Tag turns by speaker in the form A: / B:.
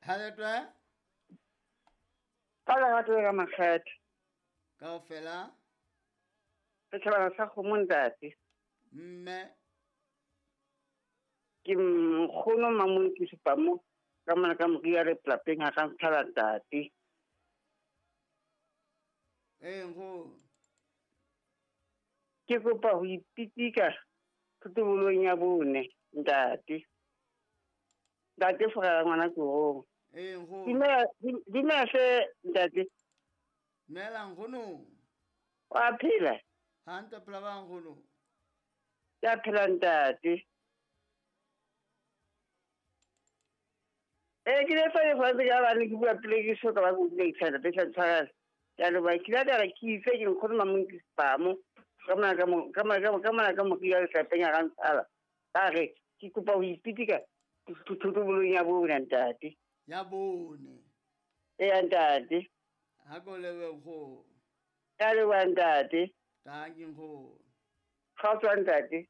A: Ha letwe?
B: Ka lerato le ka makgethe.
A: Kaofela?
B: Setjhabana sa kgomo ntate.
A: Mme?
B: Ke nkgono Mamonki Sepamo ka mona ka moria le lapeng ha ka ntshala ntate.
A: Ee nkgono.
B: Ke kopa ho ipitika thotobolong ya bone ntate. Ntate Forela ngwana Korong.
A: Ee nkgono.
B: Dumela dumela hle ntate.
A: Dumela nkgono.
B: Wa phela?
A: Hantle phela ba nkgono.
B: Ke a phela ntate. Ee ke le fa le fa ka ba ne ke bua pele ke so ka ba go bua ntate tla tshwarela. Ke a leboha ke ile ka re ke itse ke nkgono Mamonki Sepamo ka mona ka mo ka mona ka ka mona ka moria le lapeng ha ka ntshala. Ka re ke kopa ho ipitika thotobolong ya bone ntate.
A: Ya bone.
B: Ee ntate.
A: Ha ko lebe nkgono.
B: Ke a leboha ntate.
A: Tanki nkgono.
B: Kgotso ntate.